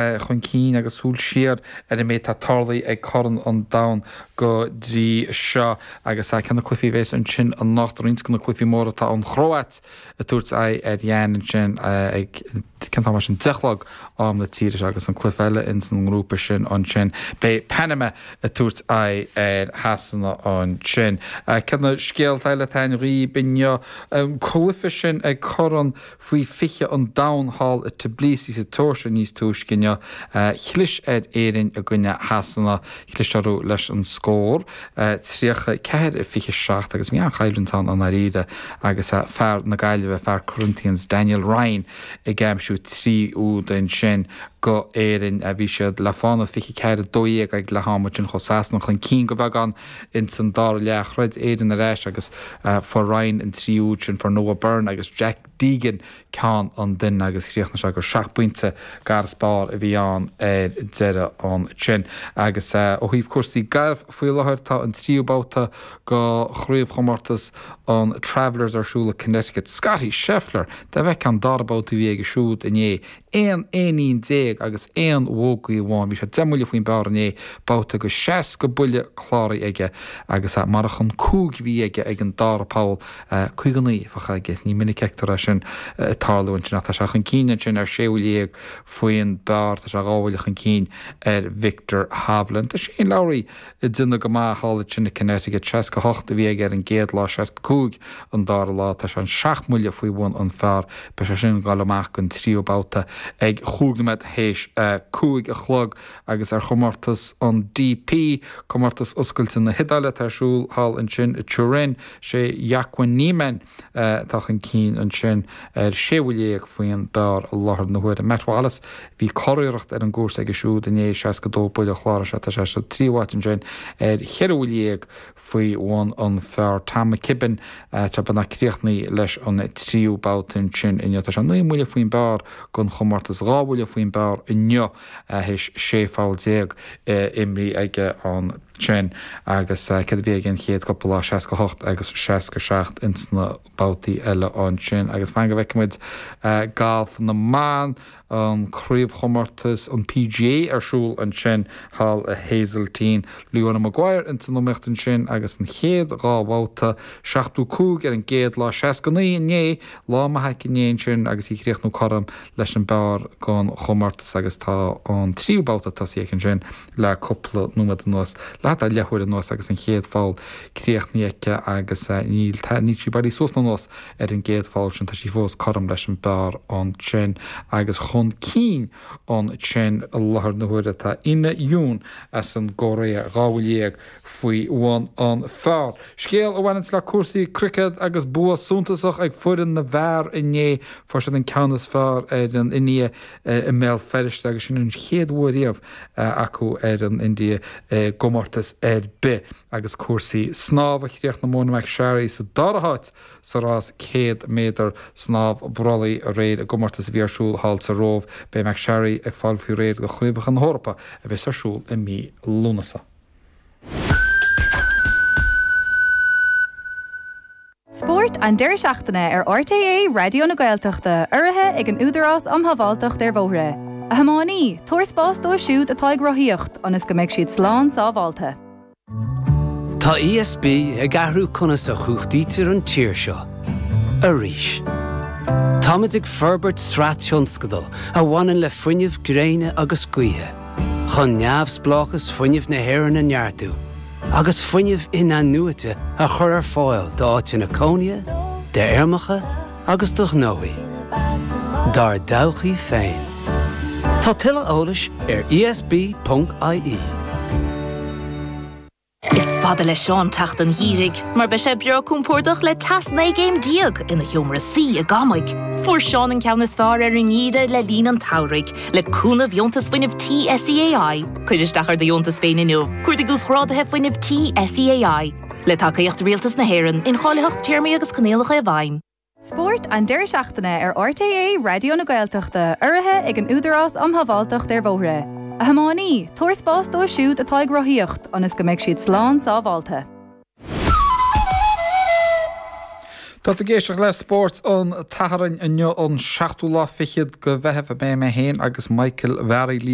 Chun cinn agus súil siar ar an méid atá tarlaithe ag Corn an Domhain go dtí seo agus ceann de na cluichí a bheas ansin anocht, roinnt de na cluichí móra atá an Chróit ag tabhairt aghaidh ar Dhein ansin ag cén t-am é sin, 10 a chlog am na tíre seo agus an cluiche eile ins an ngrúpa sin ansin beidh Panama ag tabhairt aghaidh ar Shasana ansin. Céard na scéalta eile atá againn dhaoib inniu? An cluiche sin ag Corn Faoi 20 an Domhain thall i Tbilisi sa tSeoirsia níos túisce inniu, chlis ar Éirinn i gcoinne Shasana. Chlis orthu leis an scór 34, 27 agus bhí an-choimhlint ann i ndáiríre agus fear na Gaillimhe, fear Corinthians, Daniel Ryan ag aimsiú 3 úd ansin go Éirinn. Bhí siad le fána 24, 12 ag leath ama ansin chuaigh Sasana chun cinn go bheagán ins an dara leath. Throid Éirinn ar ais agus fuair Ryan an 3 úd sin, fuair Noah Byrne agus Jack Deegan ceann an duine agus chríochnaigh sé gur 7 bpointe gar is barr a bhí ann ar deireadh ansin. Agus ó thaobh cúrsaí gailf faoi láthair tá an tríú babhta go chraobhchomórtas an Travelers ar siúl i Connecticut. Scottie Scheffler! Dá bhfeicfeá an dara babhta a bhí aige siúd inné 11 aon éinín agus aon bhógaí amháin. Bhí sé 10 mbuille faoin bpar inné, babhta go 60 buille cláraithe aige agus marach an 5 a bhí aige ag an dara poll, 59 a bheadh aige. Ní minic a fheictear é sin ag tarlú ansin ach tá sé chun cinn ansin ar 16 bhuille faoin bpar. Tá sé dhá bhuille chun cinn ar Viktor Hovland. Tá Shane Lowry ag déanamh go maith thall ansin i Connecticut. 68 a bhí aige ar an gcéad lá, 65 an dara lá. Tá sé an 7 mbuille faoi bhun an phar. Beidh sé sin ag dul amach don tríú babhta ag chúig nóiméad théis a 5 a chlog agus ar chomórtas an DP, comórtas oscailte na hIodáile atá ar siúl thall ansin i Turin, sé Joaquin Niemann atá chun cinn ansin ar 16 bhuille faoin bpar i láthair na huaire. Matt Wallace, bhí curiarracht ar an gcúrsa aige siúd inné, 62 buille a chláraigh sé, tá sé sa tríú háit ansin ar cheithre bhuille faoi bhun an phar. Tom McKibbin, tá beagnach críochnaithe leis an tríú babhta ansin inniu. Tá sé 9 mbuille faoin bpar don chomórtas, 2 bhuille faoin bpar inniu théis 16 pholl imrithe aige ansin agus céard a bhí aige an chéad cúpla lá, 68 agus 67 ins na babhtaí eile ansin. Agus fan go bhfeicfidh muid galf na mban, an craobhchomórtas, an PGA ar siúl ansin thall i Hazeltine. Leona Maguire ins an iomaíocht ansin agus an chéad dhá bhabhta, 75 ar an gcéad lá, 69 inné, lá maith aici inné ansin agus í ag críochnú cothrom leis an bpar don chomórtas agus tá an tríú babhta tosaithe aici ansin le cúpla nóiméad anuas, le thart ar leathuair anuas agus an chéad pholl críochnaithe aici agus níl níl sí bailithe suas ná anuas ar an gcéad pholl sin, tá sí fós cothrom leis an bpar ansin agus chun cinn ansin i láthair na huaire tá Inna Yoon as an gCóiré, 12 bhuille faoi bhun an phar. Scéal a bhaineanns le cúrsaí cruicéad agus bua suntasach ag foireann na bhfear inné. Fuair siad an ceann is fearr ar an India i mBéal Feirste agus sin an chéad bhua riamh acu ar an India i gcomórtas ar bith. Agus cúrsaí snámha, chríochnaigh Mona McSharry sa dara háit sa rás 100 méadar snámh brollaigh aréir i gcomórtas a bhí ar siúl thall sa Róimh. Beidh McSharry ag fáil faoi réir do Chraobhacha na hEorpa a bheas ar siúl i mí Lúnasa. Spórt an deireadh seachtaine ar RTÉ Raidió na Gaeltachta, urraithe ag an Údarás um Shábháilteacht ar Bhóithre. A thiománaí, tabhair spás dóibh siúd atá ag rothaíocht ionas go mbeidh siad slán sábháilte. Tá ESB ag athrú conas a chumhachtaítear an tír seo. Arís. Táimid ag forbairt sraith tionscadal a bhaineann le fuinneamh gréine agus gaoithe, chun neamhspleáchas fuinnimh na hÉireann a neartú agus fuinneamh in-athnuaite a chur ar fáil d'áiteanna cónaithe, d'fheirmeacha agus do ghnóthaí. Dár dtodhchaí féin. Tá tuilleadh eolais ar esb.ie. Is fada le Seán teacht an gheimhridh, mar beidh sé breá compordach le teas 19 gcéim ina sheomra suí i gCamaigh. Fuair Seán an ceann is fearr ar an ngeimhreadh le linn an tsamhraidh, le cúnamh Dheontas Fuinnimh Tí SEAI. Cuir isteach ar do dheontas féin inniu, cuardaigh Uasghráduithe Fuinnimh Tí SEAI. Le tacaíocht Rialtas na hÉireann, incháilitheacht, téarmaí agus coinníollacha i bhfeidhm. Spórt an deireadh seachtaine ar RTÉ Raidió na Gaeltachta, urraithe ag an Údarás um Shábháilteacht ar Bhóithre. A thiománaí, tabhair spás dóibh siúd atá ag rothaíocht ionas go mbeidh siad slán sábháilte. Tá tú ag éisteacht le Spórt an tSathairn inniu an seachtú lá fichead de Mheitheamh. Beidh mé féin agus Michael Mhearaí libh.